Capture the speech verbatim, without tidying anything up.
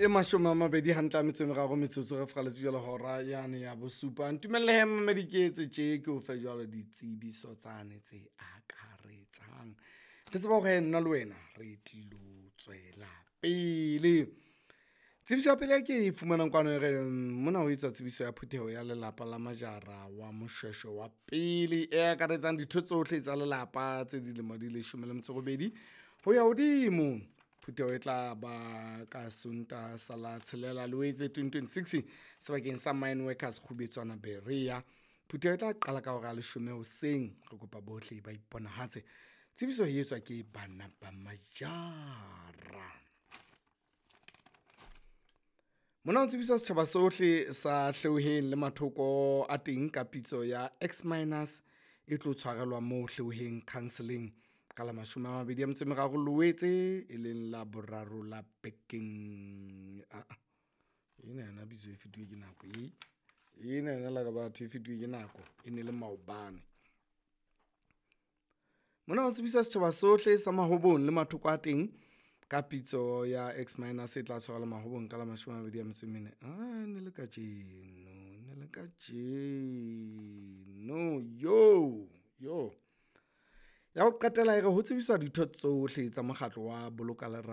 E mashome a mabedi hantle a metso e meraro metsotso re furaletse jwalo hora yane ya bosupa. Ntumelle he mmamedi ke etse tje ke o fe jwalo ditsebiso tsane tse akaretsang. Re tseba hore he nna le wena re tlilo tswela pele. Tsebiso ya pele e ke e fumanang kwano e re mona ho etswa tsebiso ya phutheho ya lelapa la Majara wa Moshweshwe wa pele e akaretsang ditho tsohle tsa lelapa tse dilemo di leshome le metso e robedi ho ya hodimo. Phutheho e tla ba ka Sontaha sa la tshelela Loetse twenty twenty-six sebakeng sa Mine Workers Kgubetswana Berea. Phutheho e tla qala ka hora ya leshome hoseng. Re kopa bohle ba iponahatse. Tsebiso e etswa ke bana ba Majara. Mona ho tsebiswa setjhaba sohle sa Hleoheng le mathoko a teng ka pitso ya X minus e tlo tshwarelwa moo Hleoheng counselling ka la mashome a mabedi a metso e meraro Loetse e leng la boraro la bekeng. Aa ena yona bitso e fetuwe ke nako e ena yona la ka batho e fetuwe ke nako e ne le maobane. Mona ho tsebiswa setjhaba sohle sa Mahobong le mathoko a teng ka pitso ya X minus e tla tshwarelwa Mahobong ka la mashome a mabedi a metso e mene. A ne le kajeno ne le kajeno yo yo. Ya ho qetela e re ho tsebiswa ditho tsohle tsa mokgatlo wa Boloka Lera.